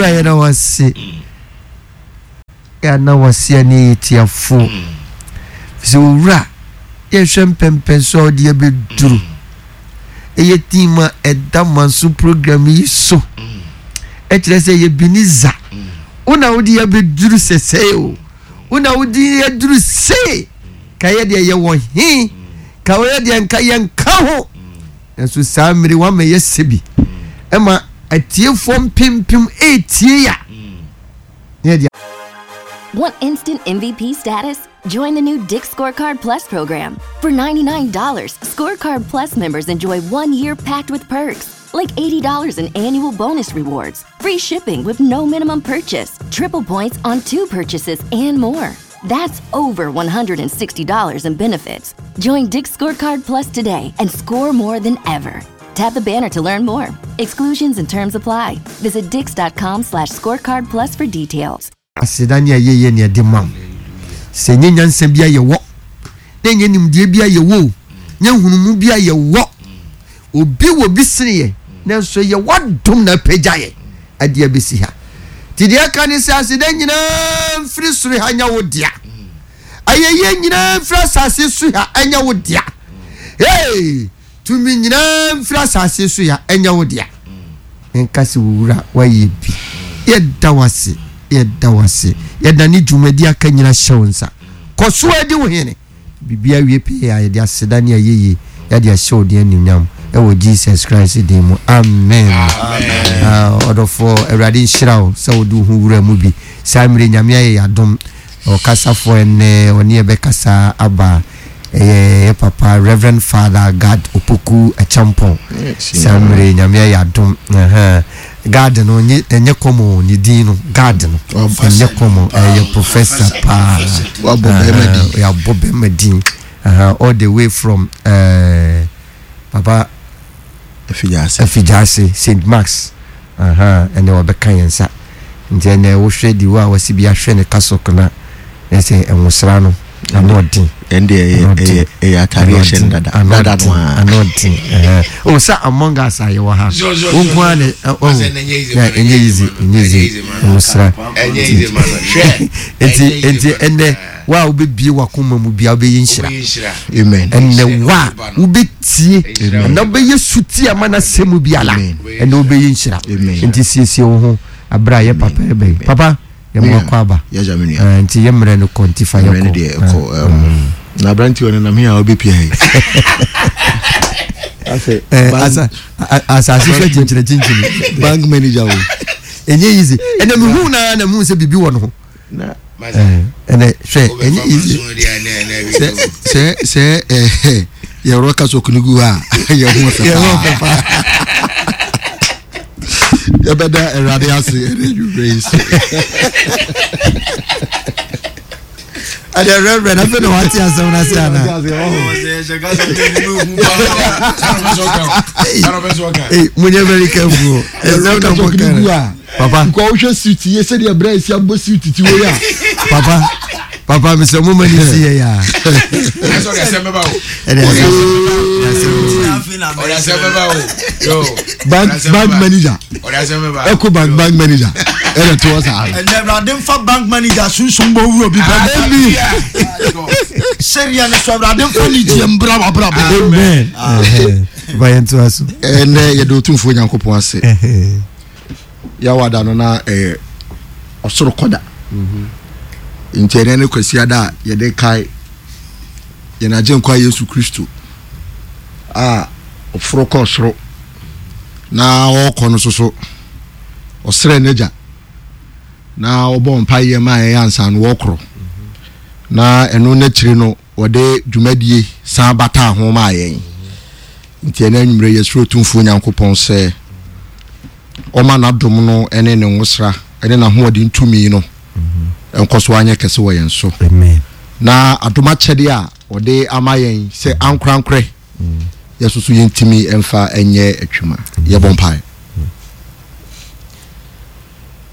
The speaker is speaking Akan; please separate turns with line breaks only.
Owura yɛda wo ase. Yɛana wo ase a ne yɛ tiafoɔ. Sɛ owura yɛhwɛ mpɛmpɛn so a wode yɛbɛduru. Ɛyɛ team a ɛda manso program yi so. Ɛkyerɛ sɛ yɛ Beniza. Wo na wode yɛbɛduru sɛsɛe o. Wo na wode yɛduru sei. Ka yɛ deɛ yɛwɔ he. Ka yɛ deɛ nka yɛnka ho. Nanso saa mmere wama yɛsɛ bi. Ɛma atiefoɔ mpempem ɛretie ya.
Want instant MVP status? Join the new Dick Scorecard Plus program. For $99, Scorecard Plus members enjoy one year packed with perks, like $80 in annual bonus rewards, free shipping with no minimum purchase, triple points on two purchases, and more. That's over $160 in benefits. Join Dick Scorecard Plus today and score more than ever. Tap the banner to learn more. Exclusions and terms apply. Visit dix.com slash scorecard plus for details.
Aseda ne ayɛyie na yɛde ma wo. Sɛ ɛnyɛ nyansa bi a yɛwɔ, na ɛnyɛ nimdeɛ bi a yɛwɔ o, nyɛ nhunumu bi a yɛwɔ. Obi wɔ bi sene yɛn, nanso ɛyɛ w'adom na apagya yɛn ade abɛsi ha. Nti deɛ ɛka ne sɛ aseda nyinaa mfiri soro ha nyɛ wo dea. Ayɛyie nyinaa mfiri asase so ha ɛnyɛ wo dea. Hey! Tumi nyinaa mfiri asase so ya ɛnyɛ wo dea. Menka sɛ wo wura wayɛ bi. Yɛda wo ase, yɛda wo ase. Yɛda ne dwumadi aka nyina hyɛ wo nsa. Kɔ so ara di wo hene. Biribiara wie pɛyɛ a yɛde aseda ne ayɛyie yɛde ahyɛ wo din anuonyam ɛwɔ Jesus Christ din mu. Amen. Ah, ɔdɔfoɔ, Awurade nhyira wo sɛ wode wo ho wura mu bi. Saa mmerɛ Nyame ayɛ yɛn adom. Ɔkasafoɔ ɛnnɛ ɔne yɛbɛkasa aba ɛyɛ yɛ papa Reverend Father Gad Opoku Acheampong. Saa mmerɛ yi Nyame ayɛ adom. Gad no nye ɛnyɛ kɔmɔ ne din no Gad no ɛnyɛ kɔmɔ ɛyɛ professor paa.
Wabɔ bɛrima din.
Yɛabɔ bɛrima din. All the way from uh, papa
Afigyaase.
Afigyaase St Mark's ahaa ɛnɛ wɔbɛka yɛn nsa nti ɛnɛ wohwɛ di wo a wɔsi bi ahwɛ ne kasok na ɛsɛ nwosra no ano ɔden.
Ɛnde ɛyɛ ɛyɛ ɛyɛ ataade ɛhyɛ no dada dada no
ara. Ano ɔden ɛhɛn o sɛ among us a yɛwɔ ha wo nko ara na ɔho na ɛnyɛ easy ɛnyɛ easy nwosra nti nti ɛnɛ. Wo a wobɛbie w'akoma mu bia wobɛyɛ nhyira.
Amen.
Ɛnɛ wo a wobɛtie ɛnɛ wobɛyɛ suti ama n'asɛm mu biara ɛnɛ wobɛyɛ nhyira. Nti siesie wo ho abere a yɛ papa ɛbɛ yi. Papa yɛ mo akɔ aba. Nti yɛ mmerɛ no kɔ nti fa yɛ
kɔ. Na aberante wɔ nenam he a wobɛpia he.
Asase hwɛ kyinkyini kyinkyini.
Bank manager o.
Ɛnyɛ easy. Ɛnɛ mehu na na mehu sɛ biribi wɔ no ho. ɛnɛ hwɛ ɛnyɛ easy.
sɛ sɛ sɛ ɛɛ yɛwɔ kasa okunu gu hɔ a yɛ ho fɛ paa yɛbɛda awurade ase ɛne adwummerɛ yi so.
ɛdɛ rɛbrɛ na afei na wate asɛm no ase ana monyɛ very careful ɛsɛm na mɔka
papa nkɔ wohwɛ suit yie sɛdeɛ berɛ ɛsi abɔ suit ti wei a
papa papa mesɛ mo ma ne si yɛ yɛ
bank bank manager eco bank bank manager ɛna to ɔsa
ano. Ɛnna awurade nfa bank manager sunsun bɔ wuro bi bɛ.
Amen.
Sɛdeɛ ne so awurade nfa ne gye mbra wa bra bɔ.
Amen. Bayɛ nto aso.
Ɛnɛ yɛde Otumfoɔ Nyankopɔn ase. Yawada no na ɛyɛ ɔsoro kɔda. Mhm. Nti ɛnɛ ne Kwasiada a yɛde kae yɛn Agyenkwa Yesu Kristo a ɔforo kɔɔ soro na ɔrekɔ no soso ɔsrɛ n'agya na ɔbɔ mpaeɛ ma ɛyɛ ansa no wɔkorɔ na ɛno n'akyiri no wɔde dwumadie san bataa ho maa yɛn. Nti ɛnɛ anwummerɛ yɛsrɛ Otumfoɔ Nyankopɔn sɛ ɔma n'adom no ne ne nwosra ne n'ahoɔden tumi no nkɔ so anyɛ kɛse wɔ yɛn so. Na adom akyɛdeɛ a ɔde ama yɛn sɛ ankorankorɛ yɛsoso yɛntumi mfa nyɛ adwuma. Yɛbɔ mpaeɛ.